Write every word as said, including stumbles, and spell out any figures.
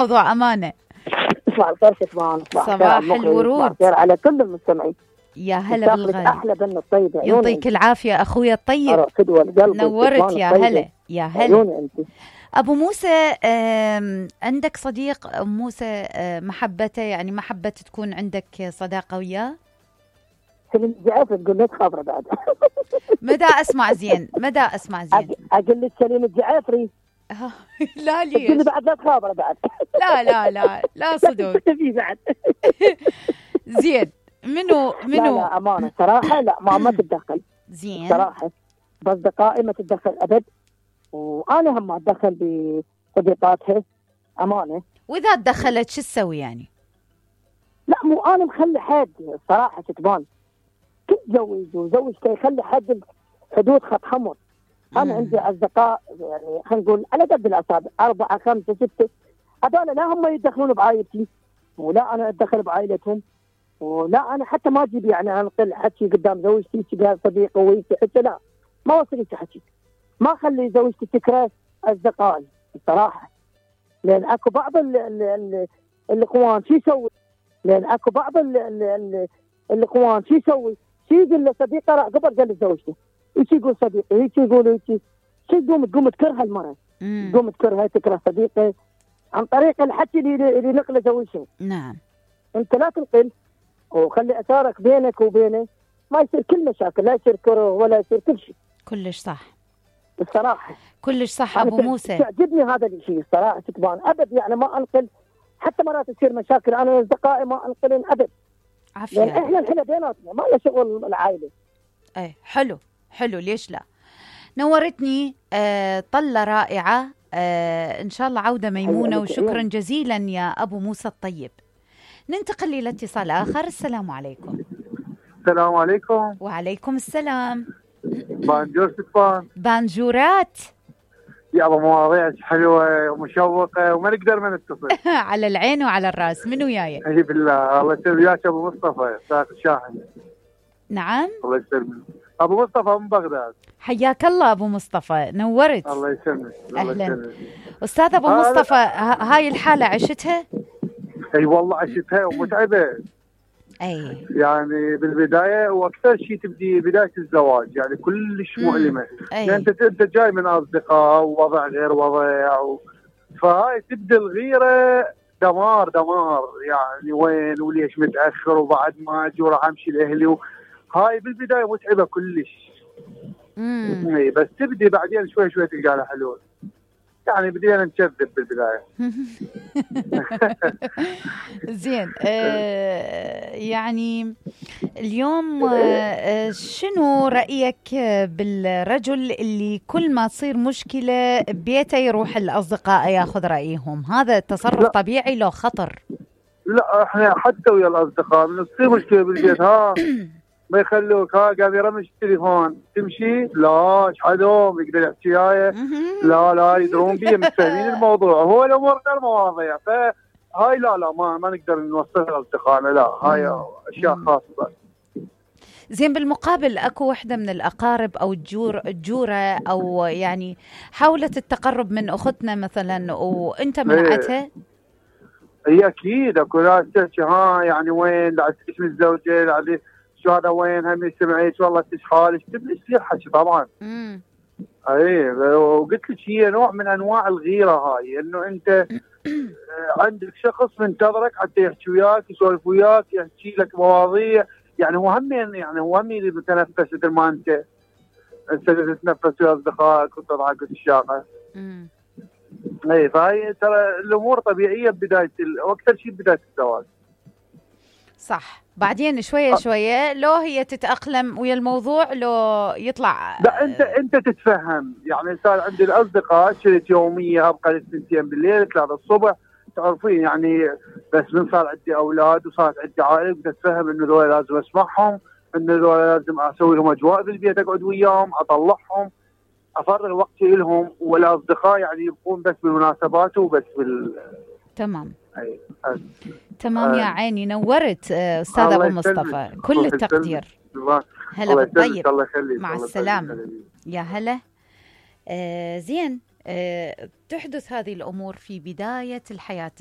موضوع أمانة. صباح الخير كتمان. صباح الورود. صباح الخير على كل المستمعين. يا هلا بالغالي. أحلى بن الطيبة. يعطيك العافية أخويا الطيب. نورت يا هلا يا هلا. أبو موسى، عندك صديق موسى محبته يعني محبة تكون عندك صداقة وياه؟ سليم الجعافري تقول لك خبره بعد. مدى أسمع زين مدى أسمع زين. أقول لك سليم الجعافري. لا ليش؟ تقول بعد لا تخابره بعد. لا لا لا لا صدق. في بعد. زين منو منو؟ لا لا أمانة صراحة لا ما ما تتدخل. زين. صراحة بأصدقائي ما تتدخل أبد، وأنا هم ما أتدخل بصديقاتها أمانة. وإذا تدخلت شو تسوي يعني؟ لا مو أنا مخلي حد صراحة تبان تتزوج وزوجته يخلي حد حدود خط حمر. أنا عندي أصدقاء يعني خلينا نقول على قد الأصابع أربعة خمسة ستة، هذول لا هم يدخلون بعائلتي ولا أنا أتدخل بعائلتهم، ولا أنا حتى ما أجيب يعني أنقل حكي قدام زوجتي تقال صديقه ويسي حتى لا ما وصلت حكي، ما أخلي زوجتي تكره أصدقائي الصراحة. لأن أكو بعض ال ال ال الإخوان شو يسوي؟ لأن أكو بعض ال ال ال الإخوان شو يسوي؟ شو يقول لصديقه راح قبل قال لزوجته، ايش يقول صديقي؟ ايش يقول ايش؟ شو تقوم تقوم تكرهها المرأة، تقوم تكرهها تكره صديقه عن طريق الحكي اللي اللي نقله زوجته. نعم. انت لا تنقل وخلي اثارك بينك وبينه، ما يصير كل مشاكل، لا يصير كره ولا يصير كل شيء. كلش صح. الصراحة. كلش صح ابو موسى. تعجبني هذا الشيء الصراحة تبان ابد يعني ما انقل، حتى مرات تصير مشاكل انا واصدقائي ما انقلن ابد. عافية. يعني احنا الحين بيناتنا ما له شغل العائلة. ايه حلو حلو ليش لا. نورتني آه طلة رائعة آه إن شاء الله عودة ميمونة وشكرا جزيلا يا أبو موسى الطيب. ننتقل إلى اتصال آخر. السلام عليكم. السلام عليكم. وعليكم السلام. بانجور ستفان. بانجورات يا أبو مواضيع حلوة ومشوقة وما نقدر ما نتصل. على العين وعلى الراس. من وياي؟ أي بالله الله يسلمك أبو مصطفى ساق الشاحن. نعم الله يسلمك أبو مصطفى من بغداد. حياك الله أبو مصطفى نورت. الله يسلمك. أهلا أستاذ أبو مصطفى. هاي الحالة عشتها؟ أي والله عشتها ومتعبة. أي يعني بالبداية وأكثر شيء تبدي بداية الزواج يعني كلش مؤلمة. يعني أنت أنت جاي من أصدقاء ووضع غير وضع و... فهاي تبدأ الغيرة دمار دمار يعني وين وليش متأخر وبعد ما أجي وراح أمشي لأهلي و... هاي بالبداية متعبة كلش. امم بس تبدي بعدين شوي شوي تلقى لها حلول. يعني بدينا نكذب بالبداية. زين آه يعني اليوم آه شنو رأيك بالرجل اللي كل ما تصير مشكلة ببيته يروح الأصدقاء ياخذ رأيهم؟ هذا تصرف لا. طبيعي لو خطر؟ لا احنا حتى ويا الأصدقاء من تصير مشكلة بالبيت ها ما يخلوك ها قاعد يرمش التليفون تمشي لا ايش حدهم يقدر يحكي وياي لا لا يدرون بيه متفاهمين الموضوع هو الامور غير مواضيع فهاي لا لا ما ما نقدر نوصلها لاصدقائنا لا هاي اشياء خاصه. زين بالمقابل اكو وحده من الاقارب او الجور الجوره او يعني حاولت التقرب من اختنا مثلا وانت منعتها؟ هي اكيد اكو ناس تحكي ها يعني وين بعد اسم الزوجه بعد شو هذا وين هم سمعت والله تشخالش تبلش لي حكي طبعا. امم اي وقلت لك هي نوع من انواع الغيره هاي انه انت عندك شخص منتظرك حتى يحكي وياك يسولف وياك يحكي لك مواضيع يعني هو هم يعني هو هم اللي متنفس مثل ما انت انت تتنفس ويا اصدقائك وتضحك وتشاقه. امم اي فهي ترى الامور طبيعيه ببدايه واكثر شيء بدايه الزواج. صح بعدين شويه شويه لو هي تتاقلم ويا الموضوع لو يطلع لا انت انت تتفهم يعني صار عندي الاصدقاء شريت يوميه ابقى للثنتين بالليل ثلاثة الصبح تعرفين يعني بس من صار عندي اولاد وصارت عندي عائله بدي اتفهم انه ذولا لازم اسمعهم انه ذولا لازم اسوي لهم اجواء بالبيت اقعد وياهم اطلعهم افرغ وقتي لهم والاصدقاء يعني يبقون بس بالمناسبات وبس بال تمام. أي. تمام يا عيني نورت استاذ ابو مصطفى كل التقدير. هلا بالطيب مع السلامه. يا هلا. آه زين آه تحدث هذه الامور في بدايه الحياه